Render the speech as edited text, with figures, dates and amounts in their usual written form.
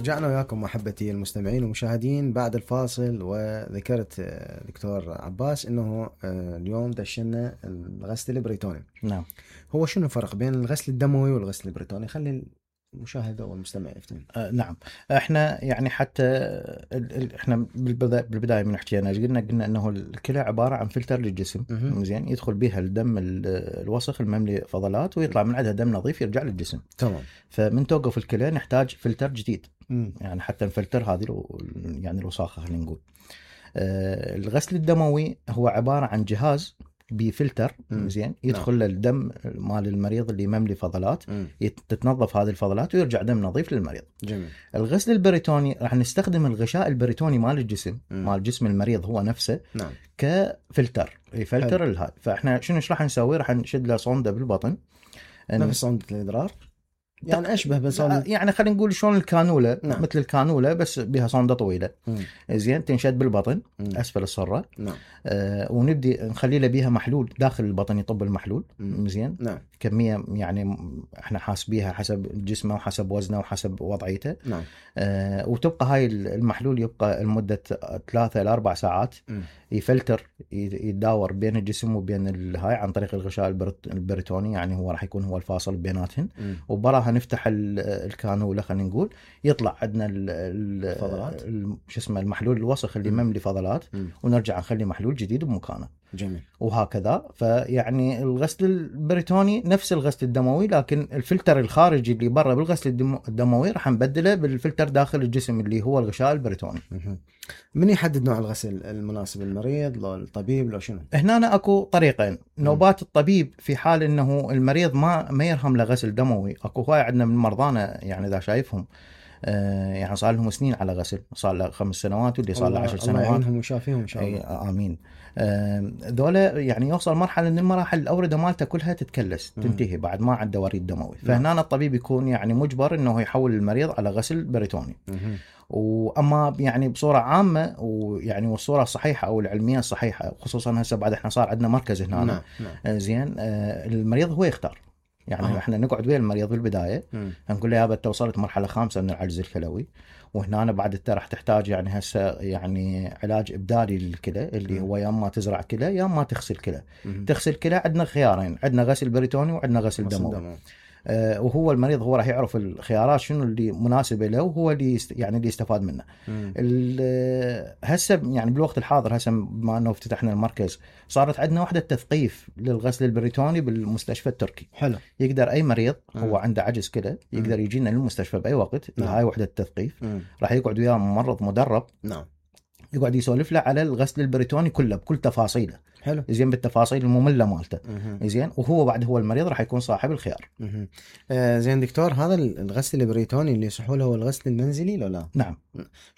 رجعنا وياكم محبتي المستمعين والمشاهدين بعد الفاصل. وذكرت دكتور عباس انه اليوم دشنا الغسل البريتوني. نعم. هو شنو الفرق بين الغسل الدموي والغسل البريتوني؟ خلي المشاهد والمستمع يفتهم. نعم. احنا يعني حتى احنا بالبدايه من حكينا قلنا انه الكلى عباره عن فلتر للجسم. زين، يدخل بها الدم الوسخ المملي فضلات ويطلع من عندها دم نظيف يرجع للجسم. تمام. فمن توقف الكلى نحتاج فلتر جديد. يعني حتى الفلتر هذه يعني الوساخه خلينا نقول. الغسل الدموي هو عباره عن جهاز بفلتر. زين، يدخل نعم. الدم مال المريض اللي مملي فضلات، تتنظف هذه الفضلات ويرجع دم نظيف للمريض. جميل. الغسل البريتوني راح نستخدم الغشاء البريتوني مال الجسم، مال جسم المريض هو نفسه. نعم. كفلتر يفلتر الهاي. فاحنا شنو راح نسوي؟ راح نشد له صونده بالبطن، نفس صونده الادرار يعني اشبه بصوندة، يعني خلينا نقول شلون الكانوله. نعم. مثل الكانوله بس بها صونده طويله. زين، تنشد بالبطن اسفل الصره. نعم. ونبدي نخلي له بيها محلول داخل البطن يطب المحلول. زين. نعم. كميه يعني احنا حاسبيها حسب جسمه وحسب وزنه وحسب وضعيته. نعم. وتبقى هاي المحلول يبقى لمده 3 إلى 4 ساعات. يفلتر، يتداور بين الجسم وبين الهاي عن طريق الغشاء البريتوني، يعني هو راح يكون هو الفاصل بيناتهن. وبراها نفتح الكانوله خلينا نقول، يطلع عندنا شو اسمه المحلول الوسخ اللي مملي فضلات، ونرجع نخلي محلول جديد بمكانه. جميل. وهكذا. فيعني الغسل البريتوني نفس الغسل الدموي، لكن الفلتر الخارجي اللي برا بالغسل الدموي راح نبدله بالفلتر داخل الجسم اللي هو الغشاء البريتوني. من يحدد نوع الغسل المناسب للمريض؟ لو الطبيب لو شنو؟ هنا اكو طريقين. نوبات الطبيب في حال انه المريض ما يرهم له غسل دموي. اكو هواي عندنا من مرضانا يعني اذا شايفهم يعني صار لهم سنين على غسل، صار له 5 سنوات واللي صار له 10 سنوات. الله يعينهم ويشافيهم ان شاء الله. امين. ذولا يعني يوصل مرحله ان المراحل الاورده مالته كلها تتكلس تنتهي بعد ما عنده وريد دموي. فهنا الطبيب يكون يعني مجبر انه يحول المريض على غسل بريتوني. واما يعني بصوره عامه ويعني والصوره الصحيحه او العلميه الصحيحه، خصوصا هسه بعد احنا صار عندنا مركز هنا. نعم. زين. المريض هو يختار. يعني احنا نقعد ويا المريض بالبدايه، نقول له يابا انت وصلت مرحله 5 من العجز الكلوي، وهنا بعد انت راح تحتاج يعني هسه يعني علاج ابدالي للكلى اللي هو يا اما تزرع كلى يا اما تغسل كلى. تغسل كلى عندنا خيارين، عندنا غسل بريتوني وعندنا غسل دموي. وهو المريض هو راح يعرف الخيارات شنو اللي مناسبه له وهو اللي يعني اللي يستفاد منه. هسه يعني بالوقت الحاضر هسه بما انه افتتحنا المركز، صارت عندنا وحده تثقيف للغسل البريتوني بالمستشفى التركي. حلو. يقدر اي مريض هو عنده عجز كلى يقدر يجينا للمستشفى باي وقت. هاي وحده التثقيف راح يقعد وياه ممرض مدرب. نعم. يقعد يسولف له على الغسل البريتوني كله بكل تفاصيله. حلو. زين، بالتفاصيل الممله مالته. زين. وهو بعد هو المريض راح يكون صاحب الخيار. زين دكتور، هذا الغسل البريتوني اللي يصحوا له هو الغسل المنزلي لو لا؟ نعم.